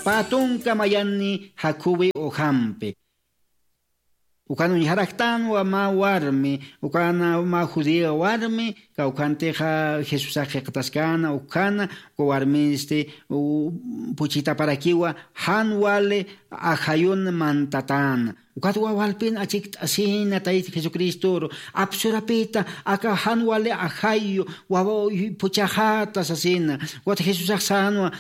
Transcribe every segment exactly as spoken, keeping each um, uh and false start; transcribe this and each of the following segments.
Pä tunka mayani jakhuwi ujampi. Ukan uñjaraktanwa mä warmi, ukan mä judía warmi, kawkhantixa Jesusax jikxataskäna, ukhana, uka warmisti, u-, puchitaparakiwa, jan wali ajayun mantatäna. Ukat wawalpin achikt'asina Tayta Jesucristoru, apsurapita, aka jan wali ajayu, wawa puchaxäta sasina. Ukat Jesusax sänwa,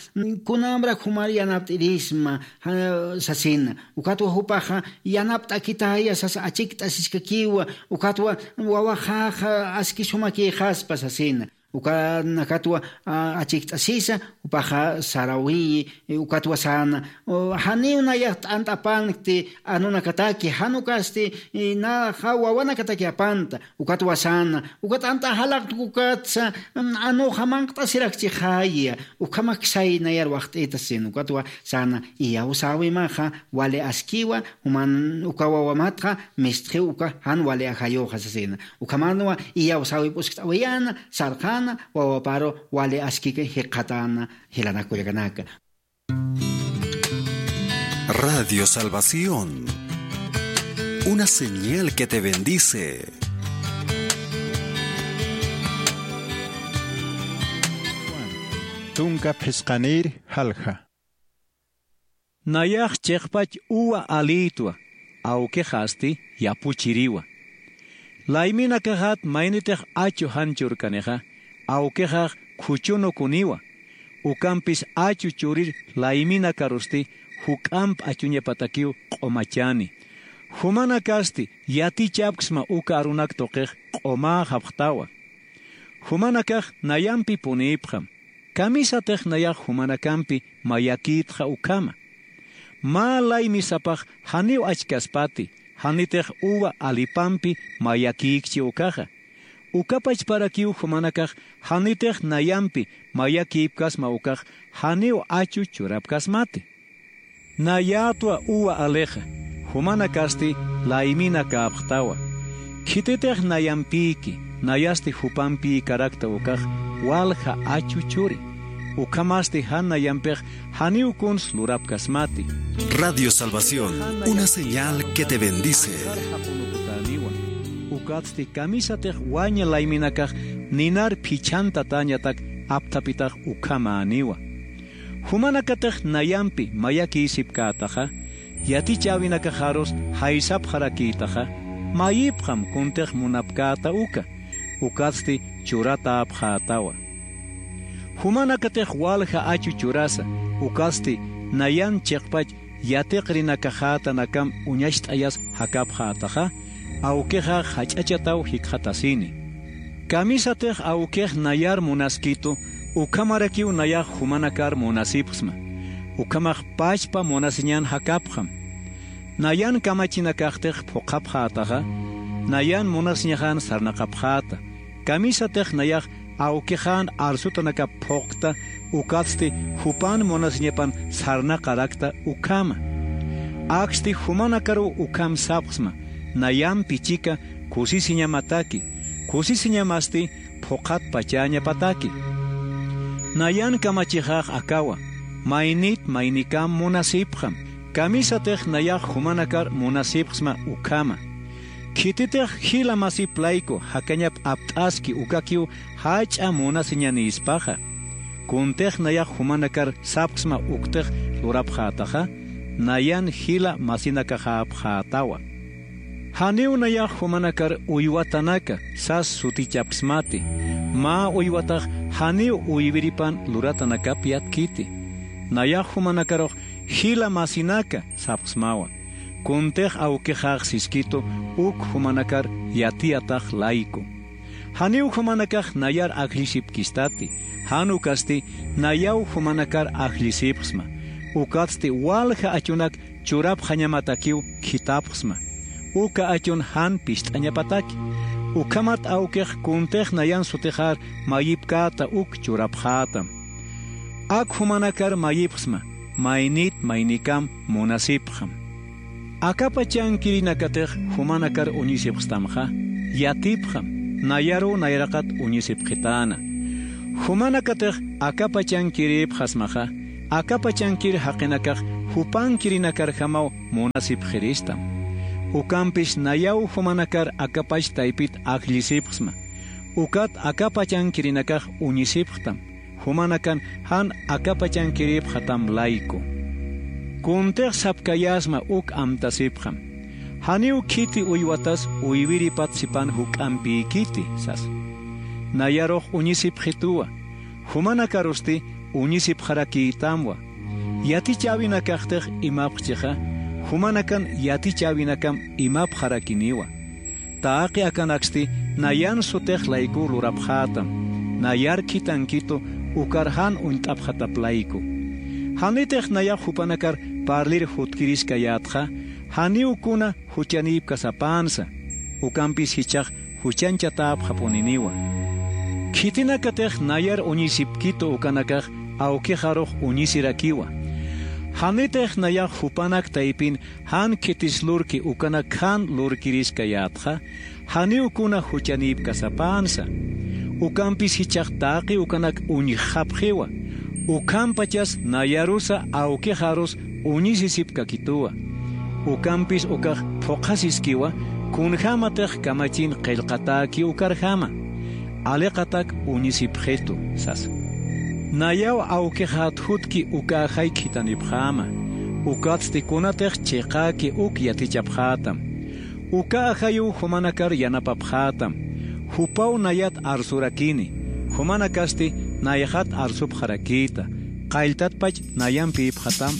kunamrak jumar yanapt'irisma, ja, sasina. Ukatwa jupaxa yanapt'akitaya sasa achikt'asiskakiwa, ukatwa wawaxaxa aski sumakïxaspa sasina. Ukanakatwa, a, achikt'asisa, jupaxa sarawiyi, ukatwa säna, o, janiw nayax t'ant'apankti anunakataki, jan ukasti, i, naxa wawanakataki apanta, ukatwa säna, ukat t'ant'a jalaqtk ukatsa, mm, anuxa manq't'asirakchixaya, ukhamak say nayar waxt'ita sasina, ukatwa säna, iyawsäwimaxa, wali askiwa, juman uka wawamatxa, mistxiw uka jan wali ajayuxa sasina. Ukhamanwa, iyawsäwi p'uskt'awayäna, sarxäna, wawaparu wali askiki jikxatäna, jilanaka kullakanaka. Radio Salvación, una señal que te bendice. Tunka phisqanïr jalja. Nayax chiqpach uwa alïtwa, awkixasti yapuchiriwa. Layminakaxat maynitix achu jan churkanixa, awkixax khuchunukuniwa. Ukampis achu churir layminakarusti juk'amp achuñapatakiw q'umachani. Jumanakasti yatichapksma uka arunak tuqix q'umäxapxtawa. Jumanakax nayampipunïpxam. Kamisatix nayax jumanakampi mayakïtxa ukhama. Mä laymi sapax janiw achkaspati, janitix uva alipampi mayakïkchi ukaxa. Ukapachparakiw jumanakax janitix nayampi mayakïpkasma ukax janiw achu churapkasmati. Nayätwa uva alixa, jumanakasti layminakäpxtawa. Khititix nayampïki, nayasti jupampïkarakta ukax walja achu churi. Ukhamasti jan nayampix janiw kuns lurapkasmati. Radio Salvación, una señal que te bendice. Ukatsti kamisatix waña layminakax ninar phichhantatäñatak apthapitax ukhamäniwa. Jumanakatix nayampi mayakïsipkätaxa, yatichäwinakaxarus jaysapxarakïtaxa, mayipxam kuntix munapkäta uka, ukatsti churatäpxätawa. Jumanakatix walja achu churasa, ukatsti nayan chiqpach yatiqrinakaxätanakam uñacht'ayas jakapxätaxa, awkixax jach'achataw jikxatasini. Kamisatix awkix nayar munaskitu, ukhamarakiw nayax jumanakar munasipxsma. Ukhamax pachpa munasiñan jakapxam. Nayan kamachinakaxtix phuqhapxätaxa, nayan munasiñaxan sarnaqapxäta. Kamisatix nayax awkixan arsutanakap phuqta, ukatsti jupan munasiñapan sarnaqarakta ukhama. Aksti jumanakaruw ukham sapxsma, nayampi chika kusisiñamataki, kusisiñamasti phuqhatpachäñapataki. Nayan kamachixax akawa, maynit maynikam munasipxam, kamisatix nayax jumanakar munasipxsma ukhama. Khititix jila masip layku jakañap apt'aski ukakiw jach'a munasiñanïspaxa. Kuntix nayax jumanakar sapxsma uktix lurapxätaxa, nayan jila masinakaxäpxätawa. Janiw nayax jumanakar uywatanaka sas sutichapksmati, mä uywatax janiw uywiripan luratanakap yatkiti. Nayax jumanakarux jila masinaka sapxsmawa. Kuntix awkixax siskitu uk jumanakar yatiyatax layku. Janiw jumanakax nayar ajllisipkistati, jan ukasti nayaw jumanakar ajllisipxsma. Ukatsti walja achunak churapxañamatakiw khithapxsma. Uka achun jan pist'añapataki. Ukhamat awkix kuntix nayan sutixar mayipkäta uk churapxätam. Ak jumanakar mayipxsma, maynit maynikam munasipxam. Akapachankirinakatix jumanakar uñisipxstamxa, yatipxam, nayaruw nayraqat uñisipxitäna. Jumanakatix akapachankirïpxasmaxa, akapachankir jaqinakax jupankirinakarjamaw munasipxiristam. Ukampis nayaw jumanakar akapach taypit ajllisipxsma. Ukat akapachankirinakax uñisipxtam. Jumanakan jan akapachankirïpxatam layku. Kuntix sapkayäsma uk amtasipxam. Janiw khiti uywatas uywiripat sipan juk'ampïkiti sas. Nayarux uñisipxituwa. Jumanakarusti uñisipxarakïtamwa. Yatichäwinakaxtix imapxchixa, jumanakan yatichäwinakam imapxarakiniwa. Taqi akanaksti nayan sutix layku lurapxätam, nayar khitankitu ukar jan uñt'apxatap layku. Janitix nayax jupanakar parlir jutkiriskayätxa, janiw kuna juchanïpkasapänsa, ukampis jichhax juchanchatäpxapuniniwa. Khitinakatix nayar uñisipkitu ukanakax awkixarux uñisirakiwa. Janitix nayax jupanak taypin jan khitis lurki ukanak jan lurkiriskayätxa, janiw kuna juchanïpkasapänsa. Ukampis jichhax taqi ukanak uñjxapxiwa. Ukhampachas nayarusa awkixarus uñisisipkakituwa. Ukampis ukax phuqhasiskiwa, kunjämatix kamachin qillqatäki ukarjama. Aliqatak uñisipxitu sasa. Nayaw awkixat jutki uka ajay khitanipxäma. Ukatsti kunatix chiqäki uk yatichapxätam. Uka ajayiw jumanakar yanapapxätam. Jupaw nayat arsurakini. Jumanakasti nayxat arsupxarakïta. Qalltatpach nayampïpxatam